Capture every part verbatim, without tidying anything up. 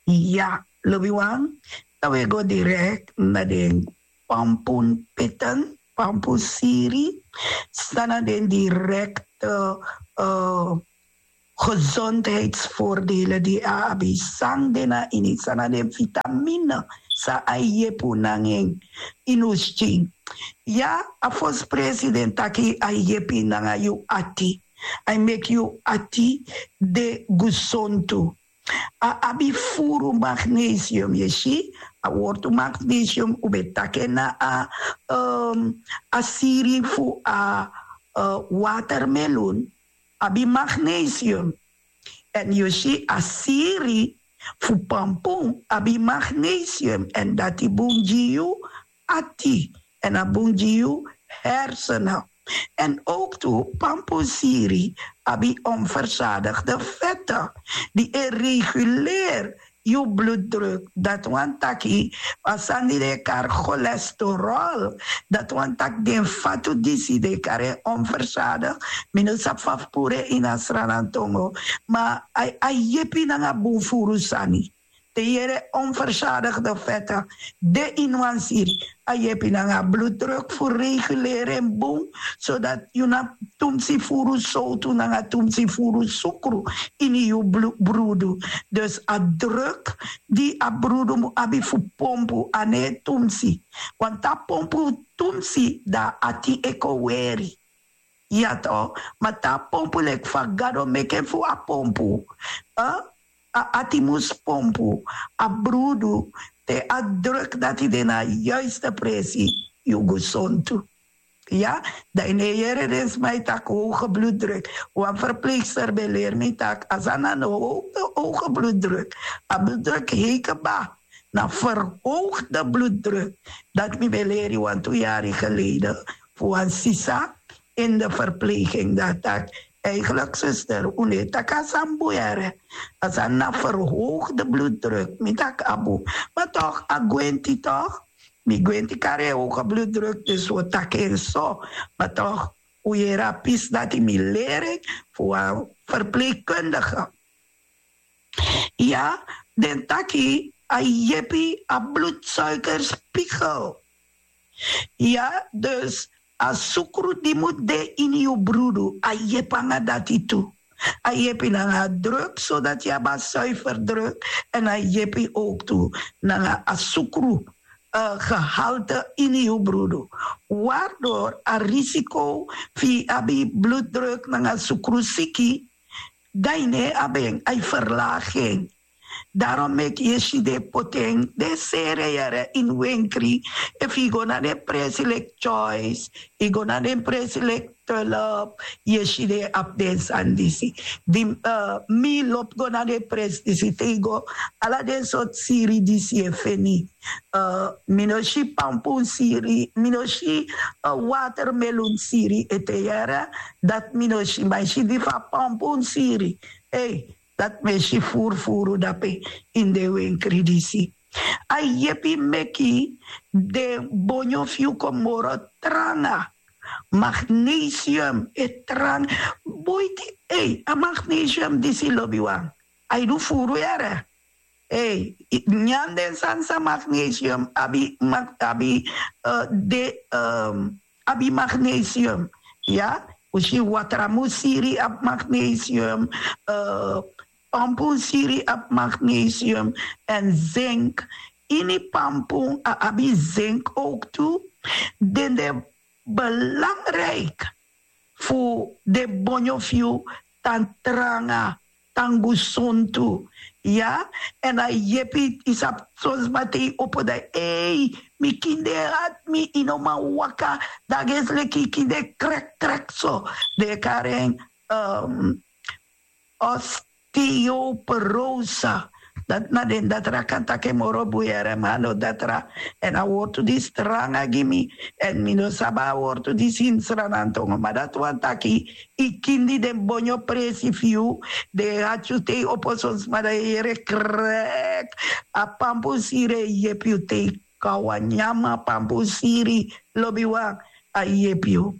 Ya, lobiwan, dan we go direct na den pampun peten, pampun siri, san na den directe uh, gezondheidsvoordelen di a abi, san den na ini, san na den vitamine san a yepi un nanga en ini un skin. Ya, a fosi president taki a yepi nanga yu ati, a e meki yu ati de gusontu. A abi furu magnesium, yu e si, a wortu magnesium un ben taki en na a um, a siri fu a uh, watermelun abi magnesium. Èn yu si a siri fu pampun abi magnesium, èn dati bun gi yu ati, èn a bun gi yu hersenen. Èn ook tu pampun siri abi onverzadigde vette di e reguleer yu bloeddruk. Dati wani taki a sani di den e kari cholesterol. Dati wani taki den fatu disi den e kari en onverzadig. Mi no sabi fa fu puru en ini a sranantongo, ma a yepi nanga bun furu sani. Te yere onverzadigde vette de ini wan siri, a yepi nanga a bloeddruk fu reguleer en bun, zodat yu na tumsi furu sowtu nanga tumsi furu sukru ini yu brudu. Dus a druk di a brudu mu abi fu pompu a no e tumsi. Want a pompu tumsi, dan a ati e kon weri. Ya to, ma te a pompu leki fa Gado meki en fu a pompu, a ati mus pompu a brudu te a druk dati de na a yuiste presi, yu gusontu. Ya, dan yu no e yere den sma e taki hoge bloeddruk. Wan verpleegster ben leri mi taki a sani na no hoge bloeddruk. A bloeddruk hei kba, na verhoogde bloeddruk. Dati mi ben leri wantu yari geleden fu wan sisa in de verpleging, dan a taki eigenlijk, zuster, un no e taki a sani bun yere. A sani na verhoogde bloeddruk, mi taki a bun. Ma toch a gwenti toch, mi gwenti kari en hoge bloeddruk, dus wi o taki en so. Ma toch, un yere a pisi dati mi leri fu wan verpleegkundige. Ya, den taki a yepi a bloedsuikerspiegel. Ya, dus a sukru di mus de ini yu brudu, a yepi nanga dati tu. A yepi nanga a druk, zodat yu abi a zuiver druk. Èn a yepi ook tu nanga a sukru uh, gehalte ini yu brudu, waardoor a risico fu yu abi bloeddruk nanga sukrusiki, dan yu no e abi en, a e verlaag en. Daarom meki yu e si den e poti en, den e seri en yere ini wenkri. Efu yu go na den presi leki Choice, yu go na den presi leki Tulp, yu e si den e abi den sani disi. Di uh, mi lobi go na den presi disi, te yu go, ala den sortu siri disi yu e feni. Uh, mi no si pampun siri, mi no si uh, watermelun siri ete yere. Dati mi no si, ma yu si di fu a pampun siri. Ei, dati mi e si furufuru dape ini den wenkri disi. A yepi meki den bonyo fu yu kon moro tranga. Magnesium e tranga. Boiti, ei, a magnesium disi, lobiwan, a e du furu yere. Ei, nyan den sani san magnesium abi, abi uh, de um, abi magnesium. Ya, un si watramu siri abi magnesium, uh, pampun siri abi magnesium, èn zink. Ini pampun a abi zink ook tu. Den de belangrijk fu den bonyo fu yu tan tranga, tan gusontu. Ya, èn a yepi yu sabi, son sma te yu opo dan, ei, mi kinde e hati mi, yu no man waka, dan a gesi leki yu kinde krek krek so. Den e kari en um, osteoporose. Dati na den datra kan taki en moro bun yere, ma a no datra. Èn a wortu disi tranga gi mi. Èn mi no sabi a wortu disi ini Sranantongo, ma dati wani taki yu kindi, den bonyo presi fu yu, den e hati yu te yu opo, son sma dan yu e yere krek. A pampun siri e yepi yu te yu kon a wan nyan pampun siri, lobiwan, a yepi yu.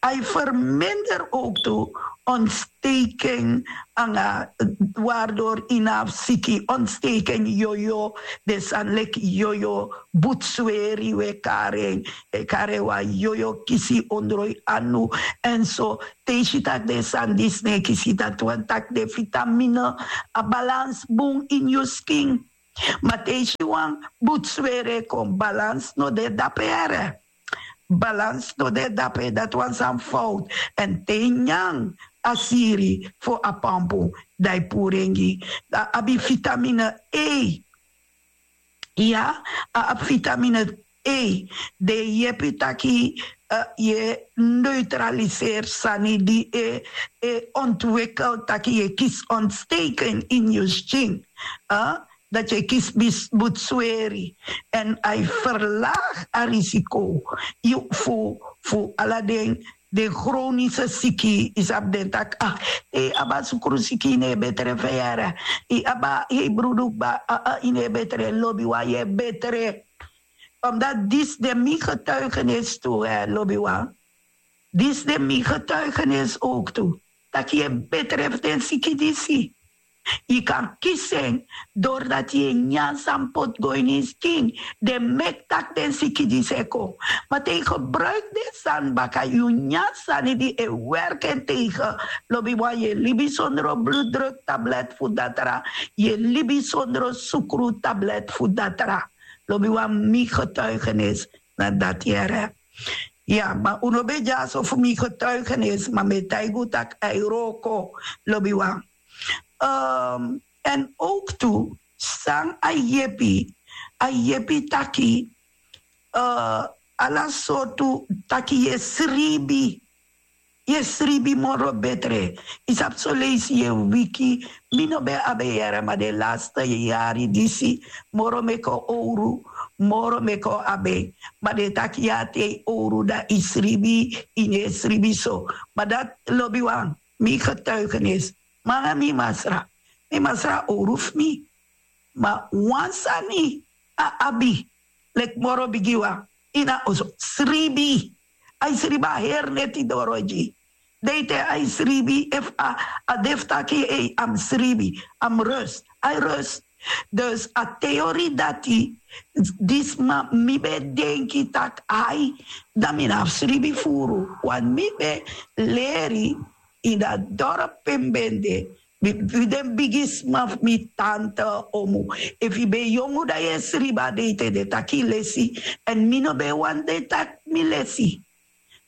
A e verminder ook tu ontsteken, anga wardor inaf siki ontsteken, yoyo, de san leki yoyo, butsweri we karen, e karen wan yoyo kisi ondroi anu. En so te isi tak de san disne kisi dat wan tak de vitamine, a balans bun in yu skin. Ma te isi wan butsweri e kon, balans no de dape here. Balans no de dape, dat wan san fout. En te nyan a siri fu a pampu, dan yu puru en gi. A abi vitamine E. Ya, a abi vitamine E. De yepi taki, yu e neutraliseri sani di e ontwikel taki yu e kisi ontsteken in yu skin. Dat yu e kisi butsweri. En a e verlagi a risiko fu fu ala den, den chronische siki, yu sabi den taki, ah, te yu abi a sukru siki, yu no e betre feyara. Yu abi a hebrudu kba, ah, yu no e betre. Lobiwan, yu e betre. Omdat disi de mi getuigenis tu, lobiwan. Disi de mi getuigenis ook tu, taki yu e betre fu den siki disi. Yu kan kisi en dordati yu e nyan san poti go ini yu skin. Den meki tak' den siki disi e kon. Ma te yu gebruiki den sani baka, yu nyan sani di e werki en tegen. Lobiwan, yu e libi sondro bloeddruktablet fu datra. Yu e libi sondro sukru tablet fu datra. Lobiwan, mi getuigenis na dati yere. Ya, ma un no ben dyaso fu mi getuigenis, ma mi e taigi un tak' a e wroko. Lobiwan. En ook tu, san a yepi, a yepi taki, ala sortu taki yu e sribi. Yu e sribi moro betre. Yu sabi son leisi yu e wiki. Mi no ben abi en yere, ma den laste yari disi moro meki o owru, moro meki o abi en. Ma den taki ya te yu owru dan yu sribi, yu no e sribi so. Ma dati, lobiwan, mi getuigenis. Ma nanga mi masra, mi masra owru fu mi. Ma wan sani a abi, leki moro bigi wan, ini a oso, sribi. A e sribi a heri neti doro gi. Deite a e sribi, efu a, a de fu taki, ei, a mus sribi, a mus rust, a e rust. Dus a teori dati, disi man mi ben denki tak' ai, dan mi no abi sribi furu. Want mi ben leri ini a dorp pe mi ben de, wi, wi den bigisma fu mi, tante, omu. Efu yu ben yongu dan yu e sribi a deite, den taki yu lesi. En mi no ben wani den taki mi lesi.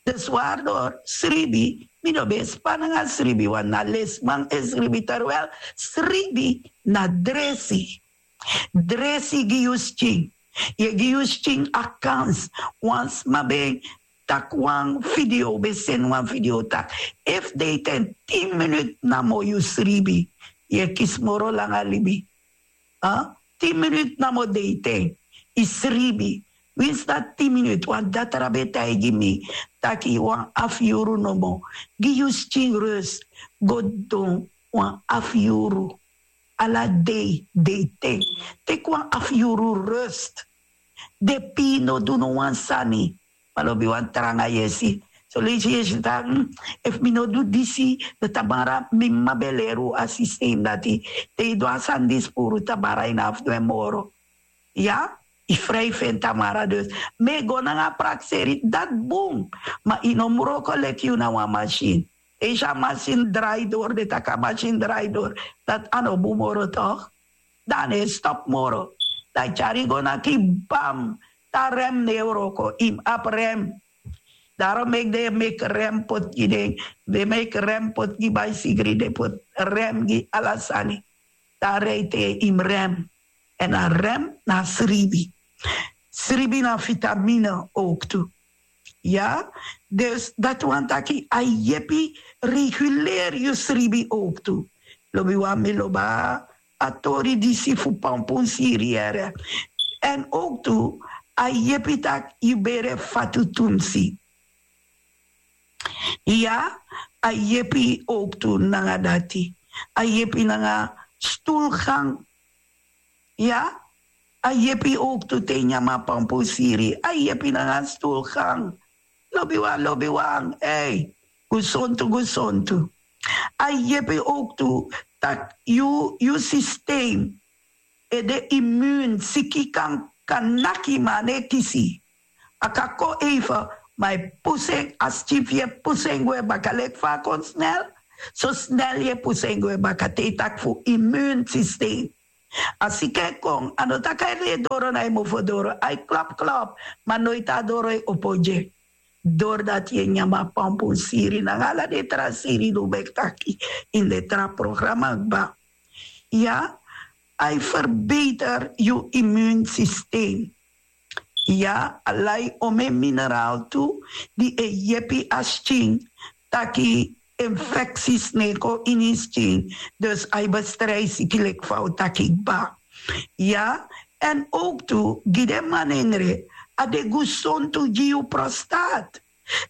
Dus waardoor sribi, mi no ben span nanga sribi, want na lesiman e sribi, terwijl sribi na dresi. Dresi gi yu skin. Yu e gi yu skin a kans. Wan sma ben taki wan video, ben seni wan video taki, efu deiten tin minut namo yu sribi, yu e kisi moro langa libi. Tin minut namo deiten, yu sribi. Winsi dati tin minut, wan datra ben taigi mi taki wan afu yuru nomo. Gi yu skin rust. Go don wan afu yuru. Ala dei, deiten. Teki wan afu yuru rust. Den pin no du no wan sani. Ma lobiwan, tranga yesi. Son leisi yesi taki, efu mi no du disi, dan tamara mi mama ben leri un a systeem dati. Te yu du a sani disi puru, tamara yu no abi fu du en moro. Ya, yu fri fu en tamara. Dus mi e go nanga a prakseri, dati bun. Ma yu no mus wroko leki yu na wan masin. Te yu si a masin drai doro, den taki a masin drai doro, dati a no bun moro, toch? Dan a no e stop moro. Dan a tyari yu go naki, bam, te a rem no e wroko, yu mus abi rem. Daarom meki den e meki rem poti gi den, den meki rem poti gi baisigri, den poti rem gi ala sani. Dan a rei te yu mus rem. En a rem na sribi. Sribi na vitamine ook tu. Ya, dus dati wani taki a yepi reguleri yu sribi ook tu. Lobiwan, mi lobi a tori disi fu pampun siri yere. En ook tu, a yepi taki yu bere fatu tumsi. Ya, a yepi ook tu nanga dati. A yepi nanga stoelgang. Ya, a yepi ook tu te yu nyan a pampun siri. A yepi nanga stoelgang. Lobiwan, lobiwan, ei. Gusontu, gusontu. A yepi ook tu tak' yu yu sistem e de imun siki kan kan naki ma a no e kisi. A kan kon eife ma e pusu en a skin fu yu e pusu en gwe baka leki fa a kon snel. So snel yu e pusu en gwe baka te yu taki fu imun sistem. A siki e kon a no taki a e doro na yu mofo doro a e klop klop. Ma noiti a doro e opo gi en. Dori dati yu e nyan mi a pampun siri nanga ala den tra siri di un ben taki ini den tra programa kba. Ya, a e ferbeter yu imun sistem. Ya, a lai omen mineraal tu di e yepi a skin taki infeksi sneko ini skin. Dus a e bestrijsi kilek fa un taki kba. Ya, en ook tu gi den manengre a de gusontu gi yu prostaat.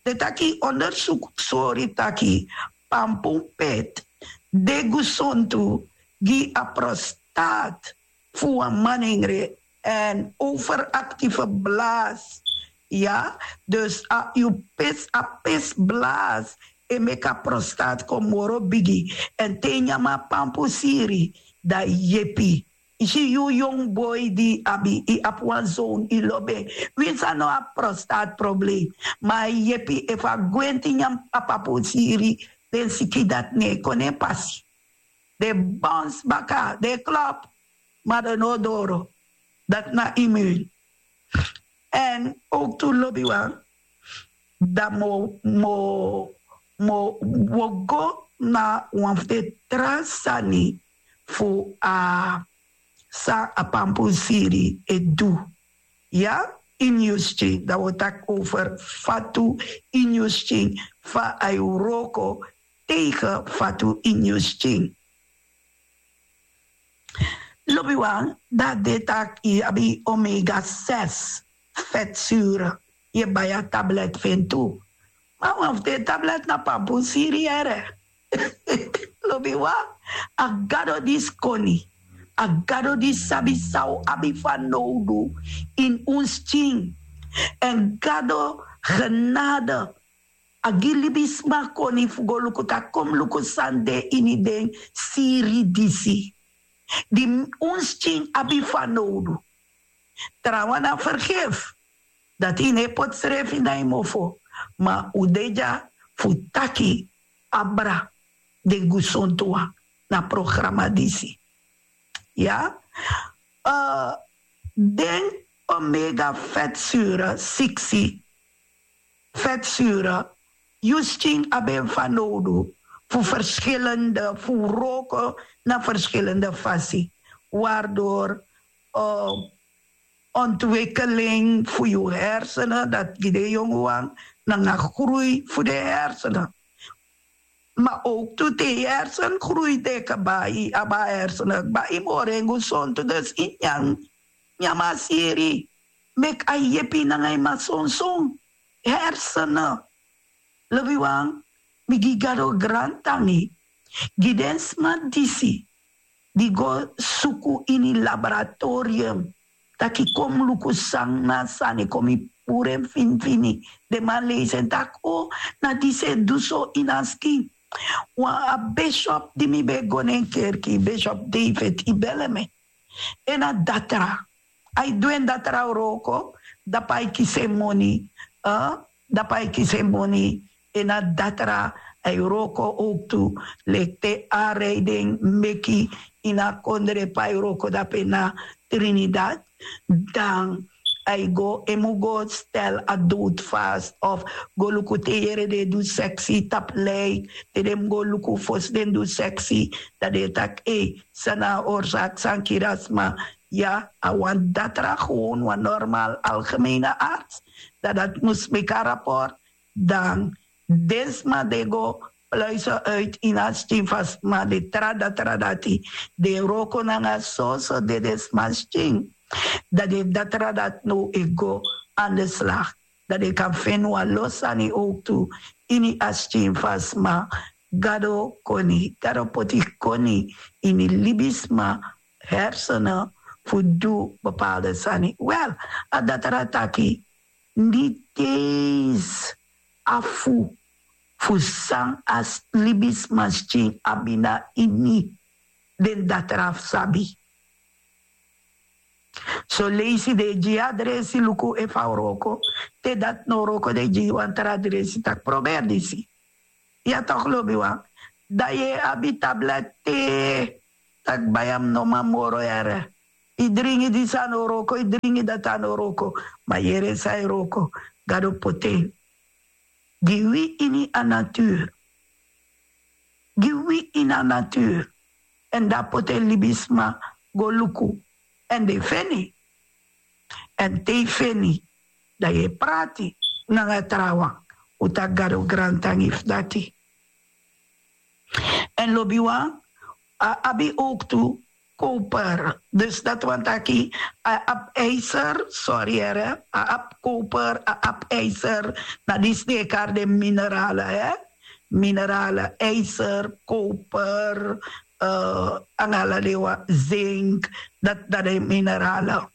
Den taki ondersuku sori taki pampun pet de gusontu gi a prostaat fu wan manengre en overaktieve blaas. Ya, dus a yu pis a pis blaas e meki a prostaat kon moro bigi. En te yu nyan mi a pampun siri dan yepi. Yu si yu yong boi di abi yu abi wan zoon yu lobi en. Winsi a no abi prostaat problem ma a yepi efu a gwenti nyan a pampun siri den siki dati no e kon na en pasi. Den bons baka den klop. Ma den no doro. Dati na imun. En ook tu lobiwan dan mi o mi o mi o go na wan fu den tra sani fu a san a pampun siri e du. Ya, ini yu skin dan wi o taki over fatu ini yu skin fa a e wroko tegen fatu ini yu skin. Lobiwan dan a de taki yu abi omega ses fetsure. Yu e bai a tablet fu en tu. Ma wan fu den tablet na pampun siri yere. Lobiwan a gado disi koni a gado disi sabi san un abi fanowdu ini un skin. Èn gado genade a gi libisma koni fu go luku taki kon mi luku san de ini den siri disi di un skin abi fanowdu. Trawan na fergefi dati yu no e poti srefi na yu mofo. Ma un de dya fu taki abra den gusontu wan na programa disi. Ya, den omega fetsure siksi fetsure yu skin abi en fanowdu fu verschillende fu wroko na verschillende fasi wardor ontwikkeling fu yu hersenen dati gi den yongu wan nanga grui fu den hersenen. Ma ook tu te yu hersen grui de kaba yu abi a hersenen kba yu moro en gusontu dus yu nyan nyan mi a siri meki a yepi nanga yu masonson hersenen. Lobiwan mi gi gado grantangi gi den sma disi di go suku ini laboratorium taki kon mi luku san na a sani kon mi puru en finifini. Den man leisi en taki o na disi e du so ini a skin. Wan a bishop di mi ben go na en kerki bishop david ibeleme en na datra a e du en datra wroko dapu a e kisi en moni. Dapu a e kisi en moni en na datra a e wroko owktu leki te a rei den meki ini a kondre pe a e wroko dapu en na trinidad dan a e go en mu go stel a dowtu fast of go luku te yere den e du seksi tapu lei te den mu go luku fosi den du seksi dan den e taki ei san na a orsaki san kiri a sma. Ya a wan datra gewon wan normal algemeine arts dan dati mus meki a raport dan den sma den go pluise uit ini a skin fu a sma den tra datra dati den e wroko nanga soso dede sma skin dan den datra dati now e go an de slag dan den kan feni wan lo sani owktu ini a skin fu a sma. Gado koni gado poti koni ini libisma hersenen fu du bepaalde sani wel a datra taki niti eens afu fu san a libisma skin abi na ini den datra fu sabi. Soleisi den e gi yu adresi luku efu a wroko. Te dati no wroko den e gi yu wan tra adresi taki proberi disi. Ya tok' lobiwan, dan yu e abi tablet te taki bai a mi no man moro yara. Yu dringi disi a no wroko, yu dringi dati a no wroko. Ma yere san e wroko, gado poti en gi wi ini a natur. Gi wi ini a natur. Èn dan a poti en libisma go luku. Èn den feni. Èn te yu feni, dan yu e prati nanga trawan. Un taki gado grantangi fu dati. Èn lobiwan, a abi owktu koper. Dus dati wani taki a abi ijser, sori here, a abi koper, a abi ijser. Na disi den e kari den minerale, hè? Minerale, ijser, koper, nanga ala den wan, zink. Dati na den minerale.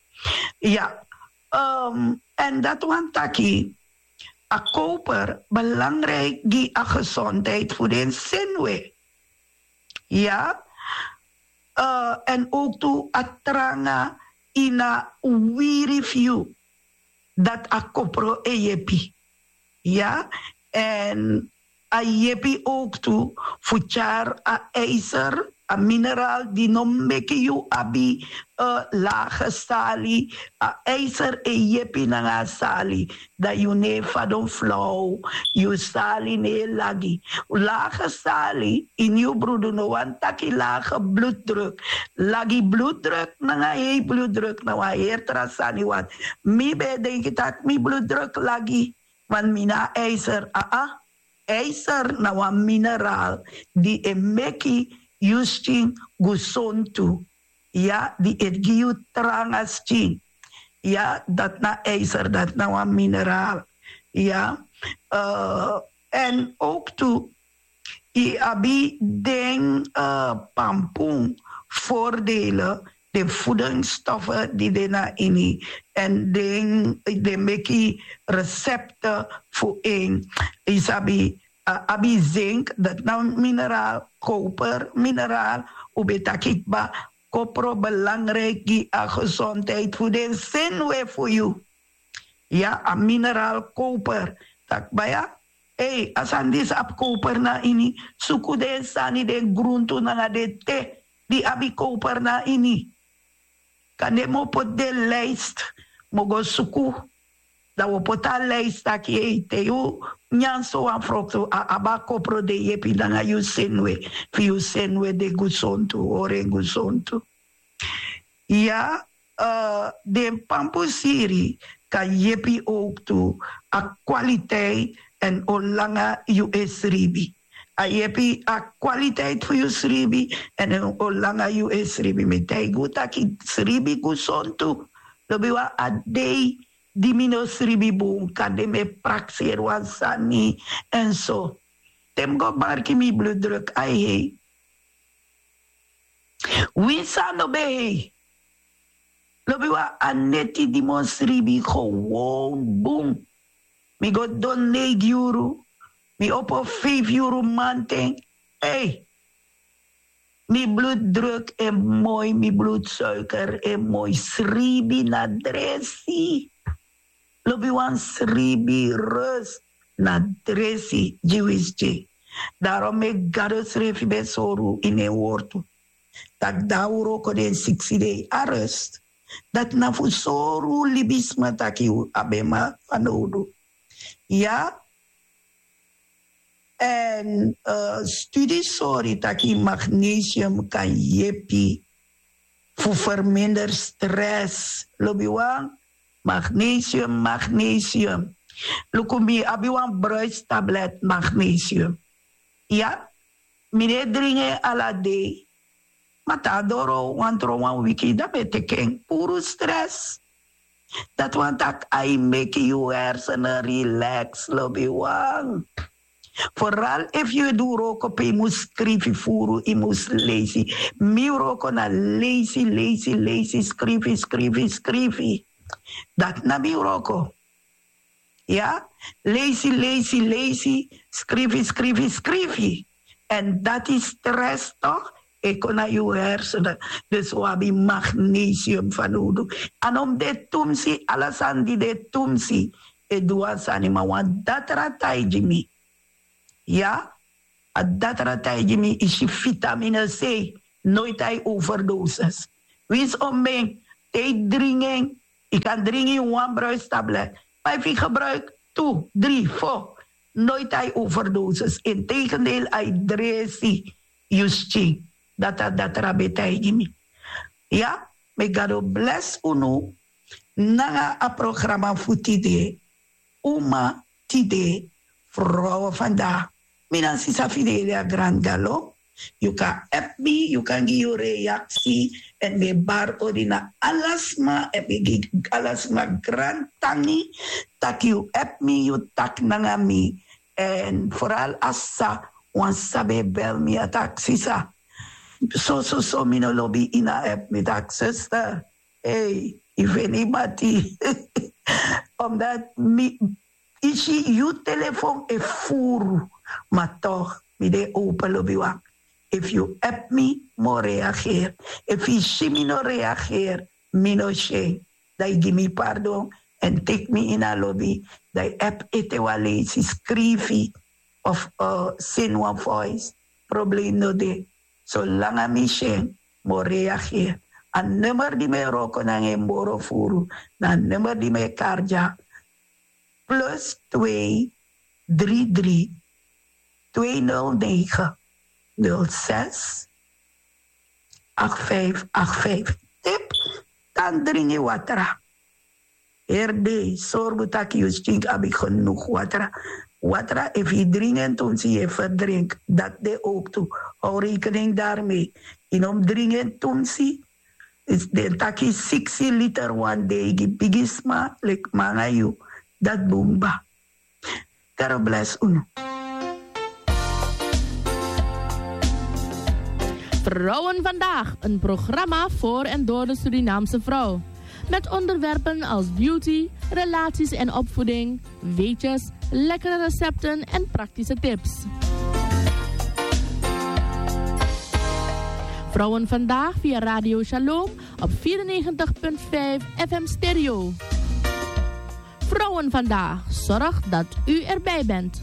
Ya. Èn dati wani taki a koper belangrijk gi a gesondheid fu den senwe. Ya. Èn owktu a tranga ini a wiri fu yu, dati a kopro e yepi. Ya. Èn a yepi owktu fu tyari a ijser, a mineraal di no meki yu abi lage sali. A ijser e yepi nanga a sali. Dan yu no e fadon flow, yu sali no e lagi. Lage sali ini yu brudu no wani taki lage bloeddruk. Lagi bloeddruk nanga hei bloeddruk na wan heri tra sani. Want mi ben e denki taki mi bloeddruk lagi, want mi na ijser. Aa. Ijser na wan mineraal di e meki yu skin gesontu. Ya, di e gi yu tranga skin. Ya, dati na ijser, dati na wan mineraal. Ya. Èn owktu yu abi den pampun voordelen, den voedingsstoffen di de na ini, èn den den meki resepte fu en. Yu sabi, a abi zink, dati na mineraal, koper mineraal. Un ben taki kba, kopro belangrijk gi a gesondheid fu den senwe fu yu. Ya, a mineraal koper. Taki baya, ei, a sani disi abi koper na ini. Suku den sani, den gruntu nanga den te di abi koper na ini. Kande mi o poti den lijst, mi o go suku. Dan wi o poti a lijst taki, ei, te yu nyan so wan froktu, a abi a kopro di e yepi nanga yu senwe, fu yu senwe de gesontu, hori en gesontu. Ya. Den pampusiri kan yepi owktu a kwaliteit èn o langa yu e sribi. A yepi a kwaliteit fu yu sribi èn o langa yu e sribi. Mi taigi un taki sribi gesontu. Lobiwan, a dei di mi no sribi bun, kande mi e prakseri wan sani èn so. Te mi go marki mi bloeddruk, ai hei. Winsi a no ben hei. Lobiwan, a neti di mi o sribi gewoon bun. Mi go didon neigi yuru, mi opo feifi yuru mamanten. Ei. Mi bloeddruk e moi, mi bloedsuiker e moi, sribi na dresi. Lobiwan, sribi, rust na dresi gi wi skin. Daarom meki Gado srefi ben sori wi ini en wortu taki dan a wroko den siksi dei a rust. Dati na fu sori wi libisma taki wi abi en fanowdu. Ya. Èn studi sori taki magnesium kan yepi fu verminder stress. Lobiwan, magnesium, magnesium. Luku, mi abi wan bruistablet magnesium. Ya, mi no e dringi en ala dei. Ma te a doro wantron wan wiki, dan mi e teki en. Puru stress. Dati wani taki a e meki yu hersenen relax, lobiwan. Vooral efu yu e du wroko pe yu mus skrifi furu, yu mus leisi. Mi wroko na leisi, leisi, leisi, skrifi, skrifi, skrifi. Dati na mi wroko. Ya, leisi, leisi, leisi, skrifi, skrifi, skrifi. En dati stress toch? E kon na yu hersenen. Dus wi abi magnesium fanodu. A no mus de tumsi, ala sani di de tumsi e du wan sani, ma wan datra taigi mi. Ya, a datra taigi mi, isi vitamine C, noiti a e overdosis. Winsi omben te yu dringi en, yu kan dringi wan bruistablet, ma efu yu gebruik tu, dri, fo, noiti a e overdosis. Integendeel, a e dresi yu skin. Dati a datra ben taigi mi. Ya, meki Gado blesi unu nanga a programa fu tide. Uma tide, vrouwen vandaag. Mi na sisa Fidelia Grandalo. Yu kan app mi, yu kan gi yu reaksi. En mi e bari odi na ala sma, en mi gi ala sma grantangi tak' yu app mi, yu taki nanga mi. En vooral a sisa, wan sisa ben e bel mi, a taki sisa, so so so, mi no lobi ini a app, mi taki zuster, ei, yu feni yu mati. Omdat mi, yu si, yu telefon e furu, ma toch mi de open lobiwan. Efu yu app mi, mi o reageer. Efu yu si mi no reageer, mi no si en, dan yu gi mi pardon, en teki mi ini a lobi, dan yu app ete wan leisi, skrifi of seni wan voice. Probleem no de. Solanga mi si en, mi o reageer. A nummer di mi e wroko nanga en, moro furu, na a nummer di mi e kari dya, plus twee drie drie twee nul negen nul zes acht vijf acht vijf. Tip: tan dringi watra. Heri dei sorgu tak' yu skin abi genoeg watra. Watra, efu yu dringi en tumsi, yu e ferdrink. Dati de ook tu. Hou rekening daarmee. Yu no mus dringi en tumsi. Den taki siksi liter wan dei gi bigisma leki mi nanga yu. Dati bun kba. Gado blesi unu. Vrouwen Vandaag, een programma voor en door de Surinaamse vrouw. Met onderwerpen als beauty, relaties en opvoeding, weetjes, lekkere recepten en praktische tips. Vrouwen Vandaag via Radio Shalom op vierennegentig punt vijf F M Stereo. Vrouwen Vandaag zorgt dat u erbij bent.